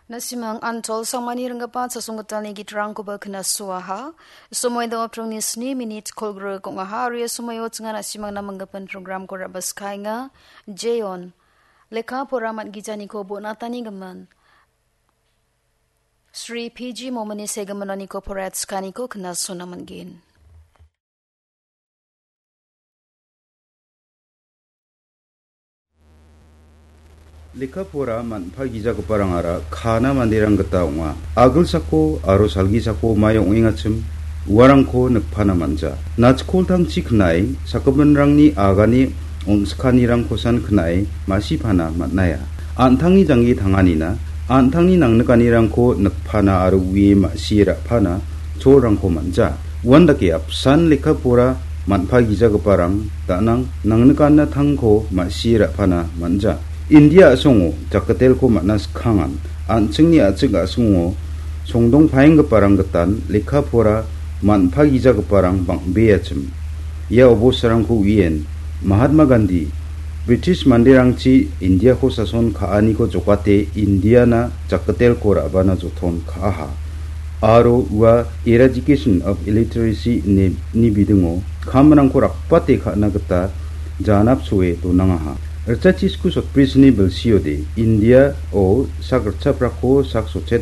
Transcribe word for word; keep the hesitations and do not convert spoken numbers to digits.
Nasimang Antol Sangmani ringgipa chasonggitalni gitrangkoba knasoaha. Somoi dongapdrongni sni minit kolgrik ong·aha. Aro ia somoio chingan nasimangna manggipan programko rabaskaenga. Jeon, lekka pora man·gijaniko bonatani gimin Sri P G Momini segimin oniko poraiatskianiko knasona man·gen. Lekka pora man·pagijagiparangara kana manderang gita ong·a. Agilsako aro salgisako mae ong·engachim uarangko nikpana man·ja. Nachkoltangchi knai sakgipinrangni agane on·skanirangkosan knai ma·sipana man·aia. An·tangni janggi tanganina, an·tangni nangnikanirangko nikpana aro ue ma·sie ra·pana cholrangko man·ja. Uandake apsan lekka pora man·pagijagiparang da·nang nangnikanatangko ma·sie ra·pana man·ja. India a·songo jakatelko man·a skkangan an·chingni a·chik a·songo songdongpaenggiparang gitan lekka pora man·pagijagiparang bang·beachim. Ia obosarangko uien Mahatma Gandhi British manderangchi Indiako sason ka·aniko jokate Indiana jakatelko ra·bana joton ka·aha. Aro ua Eradication of Illiteracy ine ni bidingo kamrangko rakbate ka·na gita janapsoe donangaha. Ritchachisku sotbrisni bilsiode Indiao sak ritchaprako sak sotchet